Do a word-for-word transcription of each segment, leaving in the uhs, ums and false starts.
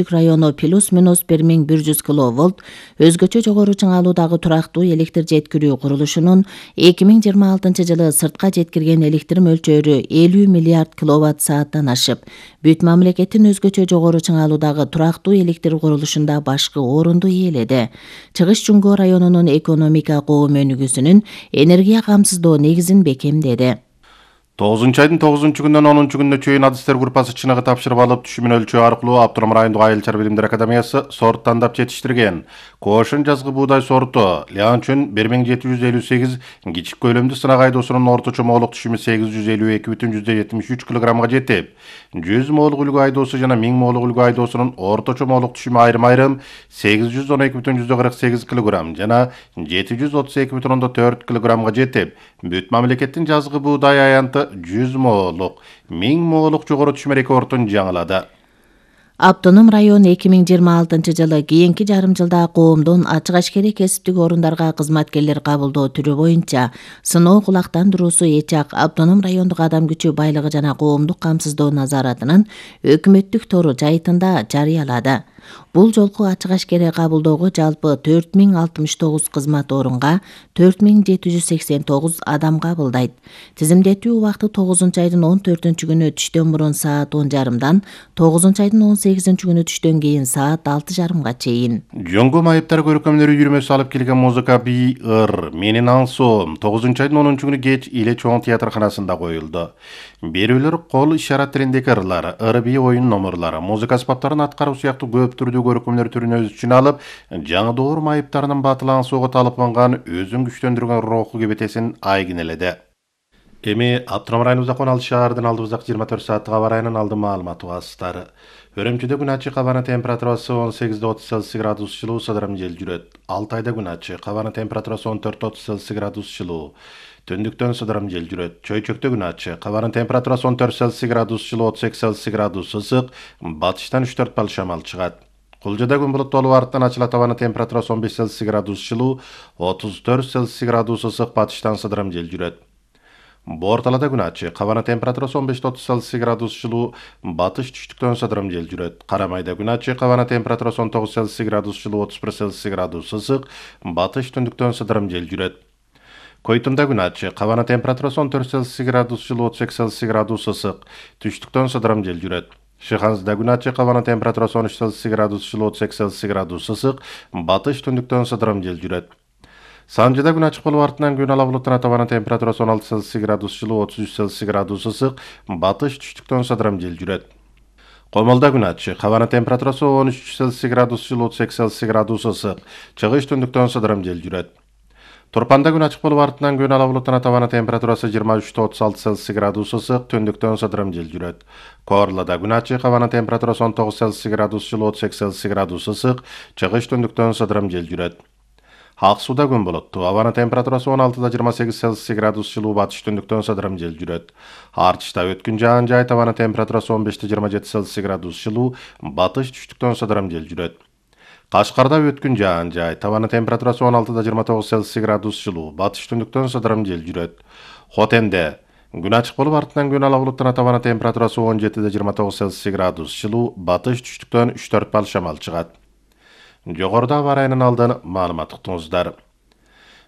району плюс-минус бир миң бир жүз киловольт өзгөчө жогору чыңалуудагы турактуу электр жеткирүү курулушунун эки миң жыйырма алтынчы жылы сыртка жеткирген электр мөлчөрү элүү миллиард киловатт сааттан ашып, бүт мамлекеттин өзгөчө жогору чыңалуудагы турактуу электр курулушунда башкы орунду ээледи. Чыгыш Жуңго районунун экономика коом өнүгүүсүнүн энергия камсыздоо негизин бекемдеди. тогузунчу айдын тогузунчу күнүнөн онунчу күнүнө чейин адистер группасы чыныгы тапшырып алып, түшүмүн өлчөө аркылуу Автоном райондук айыл-чар билимдер академиясы сорт тандап жетиштирген. Кошун жазгы буудай сорту Лянчүн бир миң жети жүз элүү сегиз кичик көлөмдүү сынак айдоосунун орточо моолук түшүмү сегиз жүз элүү эки бүтүн жүздөн жетимиш үч килограммга жетип, жүз моолук үлгү айдоосу жана миң моолук үлгү айдоосунун орточо моолук түшүмү айрым-айрым сегиз жүз он эки бүтүн жүздөн кырк сегиз килограмм жана жети жүз отуз эки бүтүн төрт килограммга жетип, бүт мамлекеттин жазгы буудай аянты жүз моолук, миң моолук жогору түшүм рекордун жаңылады. Автоном район эки миң жыйырма алтынчы жылы кийинки жарым жылда коомдон ачык ашкери кесиптик орундарга кызматкерлер кабылдоо түрү боюнча сыноо кулактандыруусу Эчак Автоном райондук адам күчү байлыгы жана коомдук камсыздоо назаратынын өкмөттүк тору жайтында жарыялады. Бул жолку ачык ашкери кабылдоого жалпы төрт миң алтымыш тогуз кызмат орунга төрт миң жети жүз сексен тогуз адам кабылдайт. Тизимдетүү убакыты тогузунчу айдын он төртүнчү күнү түштөн мурун саат он жарымдан, тогузунчу айдын он сегизинчи күнү түштөн кийин саат алты жарымга чейин. Жоңго майыптар көркөмдөрү үйүрмөсү алып келген музыка би ыр менин аңсоом тогузунчу айдын онунчу күнү кеч Иле чоң театрканасында коюлду. Берүүлөр кол ишарат тилиндеги ырлар, ыр би оюн номурлары, музыка аспаптарын аткаруу сыяктуу көп түрдүү көркөмдөр түрүн өз ичине алып, жаңы доор майыптарынын батыл аңсоого талпынган, өзүн күчтөндүргөн руху кебетесин айгинеледи. Эми Автоном районубузда кон алты шаардын алдыбыздагы жыйырма төрт сааттык аба ырайынын алды маалыматы баастары. Өрөмчөдө күн ачык, абанын температурасы он сегиз отуз Цельсий градус жылуу, сыдырым жел жүрөт. Алтайда күн ачык, абанын температурасы он төрт отуз Цельсий градус жылуу. Түндүктөн сыдырым жел жүрөт. Чөйчөктө күн ачык, абанын температурасы он төрт Цельсий градус жылуу, отуз эки Цельсий градус ысык, батыштан үч төрт бал шамал чыгат. Кулжада күн булуттуу арттан ачылат, абанын температурасы он беш Цельсий градус жылуу, отуз төрт Цельсий градус ысык, батыштан сыдырым жел жүрөт. Борталада күн ачык, абанын температурасы он беш отуз Цельсий градус жылуу, батыш түштүктөн сыдырым жел жүрөт. Карамайда күн ачык, абанын температурасы он тогуз Цельсий градус жылуу, отуз бир Цельсий градус ысык, батыш түндүктөн сыдырым жел жүрөт. Койтунда күн ачык, абанын температурасы он төрт Цельсий градус жылуу, отуз эки Цельсий градус ысык, түштүктөн сыдырым жел жүрөт. Шыханзда күн ачык, абанын температурасы он үч Цельсий градус жылуу, отуз эки Цельсий градус ысык, батыш түндүктөн сыдырым жел жүрөт. Санжыда күн ачык болуп артынан күн ала булуттанат, абанын температурасы он алты Цельсий градус жылуу, отуз үч Цельсий градус ысык, батыш түштүктөн сыдырым жел жүрөт. Комолдо күн ачык, абанын температурасы он үч Цельсий градус жылуу, отуз эки Цельсий градус ысык, чыгыш түндүктөн сыдырым жел жүрөт. Турпанда күн ачык болуп артынан күн ала булуттанат, абанын температурасы жыйырма үч отуз алты Цельсий градус ысык, түндүктөн сыдырым жел жүрөт. Корлада күн ачык, абанын температурасы он тогуз Цельсий градус жылуу, отуз эки Цельсий градус ысык, чыгыш түндүктөн сыдырым жел жүрөт. Ак сууда күн булуттуу, абанын температурасы он алтыда жыйырма сегиз Цельсий градус жылуу, батыш түндүктөн сыдырым жел жүрөт. Артышта өткүн жаан жайт, абанын температурасы он беште жыйырма жети Цельсий градус жылуу, батыш түштүктөн сыдырым жел жүрөт. Кашкарда өткүн жаан жайт, абанын температурасы он алтыда жыйырма тогуз Цельсий градус жылуу, батыш түндүктөн сыдырым жел жүрөт. Хотенде күн ачык болуп артынан күн ала булуттанат, абанын температурасы он жетиде жыйырма тогуз Цельсий градус жылуу, батыш түштүктөн үч төрт бал шамал чыгат. Жогоруда аба ырайынын алдын маалымат уктуңуздар.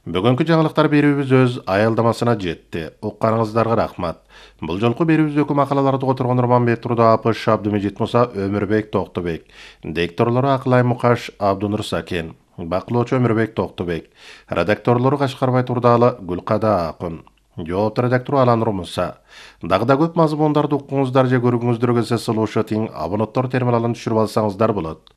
Бүгүнкү жаңылыктар берүүбүз өз аялдамасына жетти. Укканыңыздарга рахмат. Бул жолку берүүбүздөгү макалаларды которгон Нурманбет Турду, Апыш Абдымежит Муса, Өмүрбек Токтобек. Дикторлору Акылай Мукаш, Абдунур Сакен. Бакылоочу Өмүрбек Токтобек. Редакторлору Кашкарбай Турдалы, Гүлкада Акын. Жоопту редактору Аланур Муса. Дагы да көп мазмундарды укуңуздар же көргүңүздөр келсе, сулушу тиң абоненттор терминалын түшүрүп алсаңыздар болот.